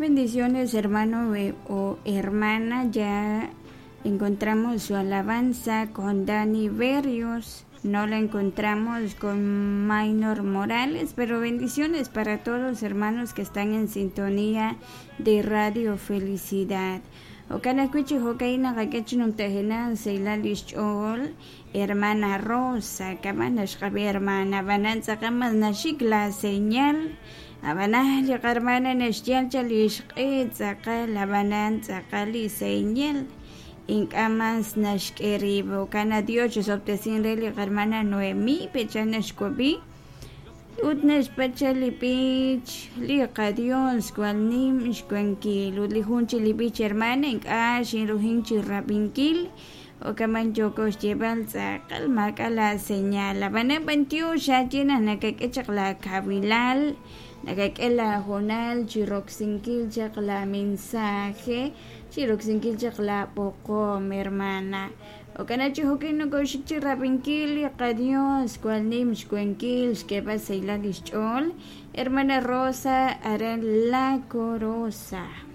Bendiciones, hermano o hermana. Ya encontramos su alabanza con Dani Berrios. No la encontramos con Minor Morales, pero bendiciones para todos los hermanos que están en sintonía de Radio Felicidad. Okana kuchi hokaina kakechinum tajena seilalish ch'ol hermana Rosa kamana xqabi hermana bananza kamas nashik la señal abanaj li qarmana naxyal chalix q'e tz'aqal abanan tz'aqal li señal ink'amas naxk'erib kana Dios chisobtesin re li qarmana Noemí pecha naxkubi ut naxpacha li b'ich li qadios kwal nim xwankil ut li jun chi li b'ich hermana ink'a' xinrujin chi rab'inkil okaman yoko xyeb'al tz'aqal maak'a la señal ab'anan b'antiox xaye naq nakak'e chaq la kawilal nakak'e la hoonal chi roksinkil chaq la mensaje chi roksinkil chaq la b'oqom hermana okana chi jo'kin nokoxik chi rab'inkil li qadios kwal nim xwankil xk'eeb'al saylal lix ch'ool hermana Rosa aran La Corosa.